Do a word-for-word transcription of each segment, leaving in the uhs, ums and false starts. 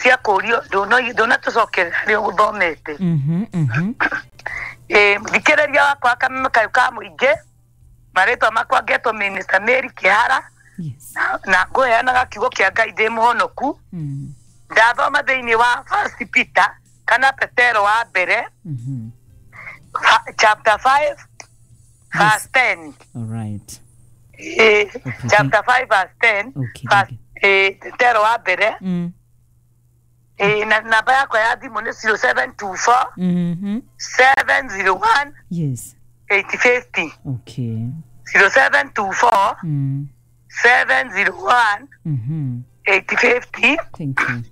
Cia kũrio ndũnatũcokerera harĩa ũgũthomete. Mhm, mhm. Ĩĩ, mũthikĩrĩria wakwa kameme kayũ ka mũingĩ, marĩtwa makwa ngetwo Minister Mary Kĩhara. Yes. Na ngũheanaga kiugo kĩa Ngai ndĩ mũhonoku. Mm. Ndathoma thĩinĩ wa First Peter kana Petero wa mbere, Mhm. fa- chapter five verse ten. All right. Ĩĩ, Okay, chapter five verse ten. Okay, verse- okay. ĩĩ, Petero wa mbere. Mm. Ĩĩ, na namba yakwa ya thimũ nĩ zero seven two four Mhm. seven zero one Yes. eight fifty. Okay. zero seven two four Mm. seven zero one Mhm. eight fifty. Thank you.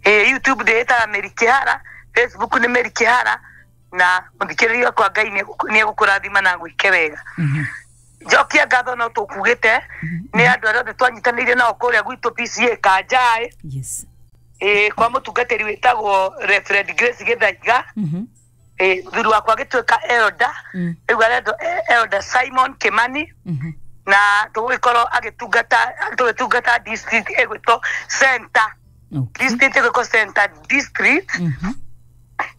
Ĩĩ, YouTube ndĩĩtaga Mary Kĩhara, Facebook nĩ Mary Kĩhara, na mũthikĩrĩria wakwa Ngai nĩ egũkũrathima na agwĩke wega. Mhm. Njokia ngatho no tũkugĩte nĩ andũ arĩa othe twanyitanĩire nao kũrĩa gwitũ P C A Kanjaĩ. Yes. Ĩĩ, kwa mũtungatĩri wĩtagwo Reverend Grace Gĩthaiga. Mhm. Ĩĩ, mũthuri wakwa agĩtuĩka elder. Mm. Rĩu arendwo Elder Simon Kimani. Mhm. Na tũgũgĩkorwo agĩtungata, tũgĩtungata district ĩgwĩtwo Center. Okay. District ĩgwĩtwo Center District. Mhm.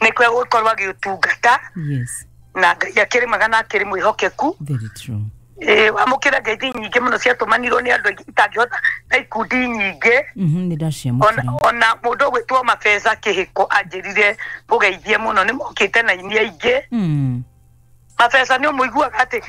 Nĩkuo egũgĩkorwo agĩtungata. Yes. Na Ngai akĩrĩ mwega na akĩrĩ mwĩhokeku. Very true. Ĩĩ, wamũkĩra ngeithi nyingĩ mũno ciatũmanirwo nĩ andũ aingĩ itangĩhota na ikundi nyingĩ. Mhm, nĩ ndaciamũkĩra. Ona, ona mũndũ ũgwĩtwo Mabeza Kĩhĩko anjĩrire ngũgeithie mũno, nĩ mokĩte na ini aingĩ. Mm. Mabeza nĩ ũmũiguaga atĩ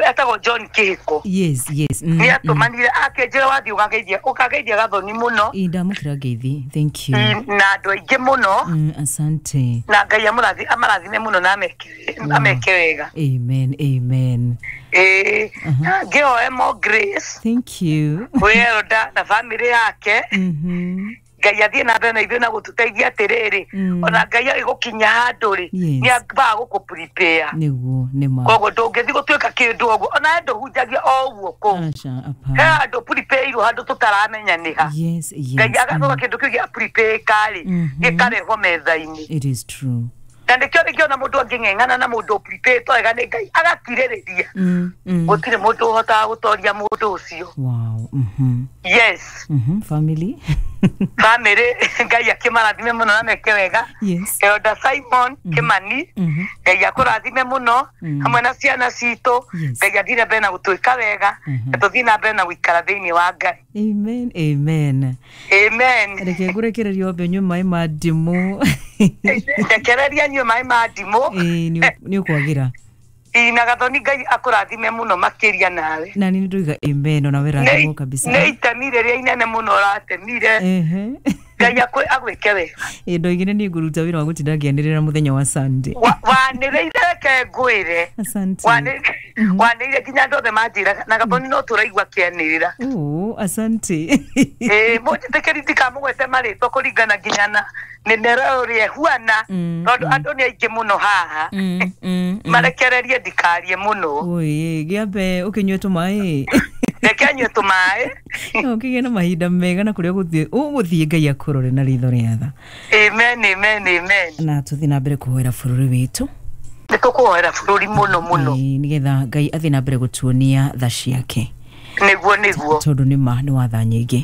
etagwo John Kĩhĩko. Yes, yes. Mm. Nĩ atũmanire akĩnjĩra wathiĩ ũkageithia, ũkageithia Gathoni mũno. Ĩ, ndamũkĩra ngeithi. Thank you. Mm, na andũ aingĩ mũno. Mm, asante. Na Ngai amũrathi-, amarathime mũno na ameke, ameke wega. Amen, amen. Ĩĩ, ngĩhoe more grace. Thank you. Kwĩ elder na family yake. Mhm. Ngai athiĩ na mbere na ithuĩ na gũtũteithia atĩrĩrĩ. Mm. Ona Ngai agĩgũkinya handũ rĩ, Yes. nĩ ambaga gũkũ prepare. Nĩguo, nĩ ma. Koguo ndũngĩthiĩ gũtuĩka kĩndũ ũguo, ona he ndũhunjagia o ũguo kũu. Aca, He hapana. handũ prepare-irwo, handũ tũtaramenya nĩ ha. Yes, yes. Ngai agacoka Mm. kĩndũ kĩu gĩa prepare rĩ, Mhm. gĩkarehwo metha-inĩ. It is true. Na nĩkĩo rĩngĩ ona mũndũ angĩng'eng'ana na mũndũ prepare wega nĩ Ngai agakirĩrĩria, Mm, mm. gũtirĩ mũndũ ũhotaga gũtoria mũndũ ũcio. Wow. Mhm. Yes. Mhm. Family. Family, Ngai akĩmarathime mũno na meke wega. Yes. Elder Simon Kimani, Mhm. Ngai akũrathime mũno Mm. hamwe na ciana citũ. Yes. Ngai athiĩ na mbere na gũtwĩka wega, Mhm. na tũthiĩ na mbere na gũikara thĩinĩ wa Ngai. Amen, amen. Amen. Reke ngũrekererie wambe ũnyue maĩ ma ndimũ. Rekereria nyue maĩ ma ndimũ. Ĩĩ, nĩ nĩ ũkwagĩra. Ĩ, na Gathoni Ngai akũrathime mũno makĩria nawe. Na nĩ ndoiga amen, ona we rathimwo Nĩ kabisa. nĩ itemi rĩrĩa inene mũno ũratemire. Ehe. Ngai akũ- agwĩke wega. Ĩ, ndoigire niĩ ngũruta wĩra wa gũtinda ngĩanĩrĩra mũthenya wa Sunday. Wa- wanĩrĩire, reke ngwĩre. Asante. Wanĩ- wanĩrĩire nginya andũ othe manjĩraga na Gathoni no tũraigua kĩanĩrĩra. Oh, asante. Ĩ, mũnjĩtĩkĩri ndikamũgwete marĩtwa kũringana nginya na mĩmera ũrĩa ĩhuana, Mm, tondũ andũ nĩ aingĩ mũno haha. Mm, mm, mm. Marekererie ndikarie mũno. Oi, gĩambe ũkĩnyue tũmaĩ. Reke nyue tũmaĩ. No ũkĩgĩe na mahinda mega na kũrĩa ũgũthiĩ ũgũthiĩ Ngai akũrore na ritho rĩa tha. Amen, amen, amen. Na tũthiĩ na mbere kũhoera bũrũri witũ. Nĩ tũkũhoera bũrũri mũno mũno. Ĩĩ, nĩgetha Ngai athiĩ na mbere gũtuonia tha ciake. Nĩguo, nĩguo. Tondũ nĩ ma nĩ watha nyingĩ.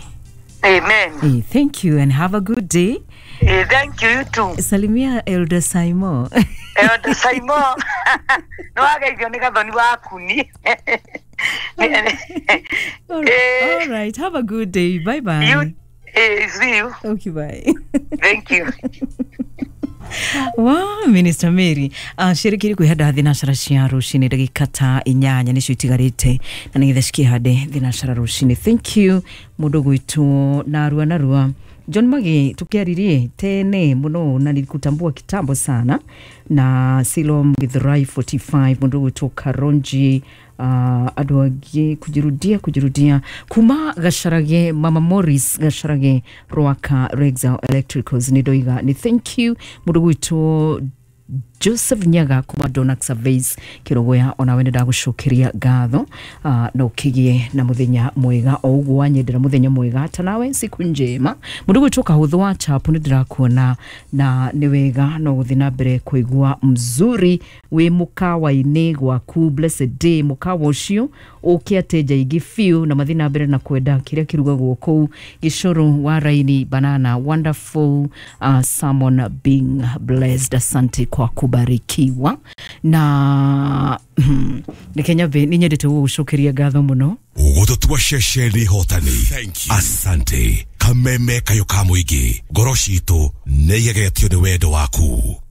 Amen. Ĩĩ, thank you and have a good day. Eh, thank you, you too. Salimia Elder Simon. Elder Simon nĩ wageithio nĩ Gathoni wakuni. All, Eh. all right, have a good day. Bye bye. You, eh, see you. Okay, bye. Thank you. Wa Minister Mary uh, cirikiri kwihanda thinacara cia rucini, ndagika ta inyanya nicio itigarite na nigetha cikihande thinacara rucini. Thank you mundu gwitwo narua narua John Magi, tukiaririe tene muno na nilikutambua kitambo sana, na Silom Githurai mĩrongo ĩna na ithano, mundu gwitwo Karonji, uh, andu angĩ kujirudia kujirudia kuma Gacarage, Mama Morris Gacarage, Rwaka Rexel Electricals, nĩ ndoiga nĩ thank you. Mundu gwitwo Joseph Nyaga kuma Donax Surveys Kirogoya, onawe nĩ ndagũcokeria ngatho, uh, na ũkĩgĩe na mũthenya mwega o ũguo wanyendera mũthenya mwega, ta nawe siku njema. Mũndũ gwĩtwo Kahũthũ wa Chapu, nĩ ndĩrakuona na nĩ wega no gũthiĩ na mbere kũigua mzuri. Wĩ mũkawa-inĩ gwaku, blessed day. Mũkawa ũcio ũke ateja aingĩ biũ na mathiĩ na mbere na kwenda kĩrĩa kĩrugagwo kũu. Gĩcũrũ wa raini banana, wonderful uh, sermon, being blessed. Asante kwa kubarikiwa. Na reke nyambe nĩ nyendete gũgũcokeria ngatho mũno. Gũtũtua ceceni hotani. Asante. Kameme kayũ ka mũingĩ, ngoro citũ nĩ igegetio nĩ wendo waku.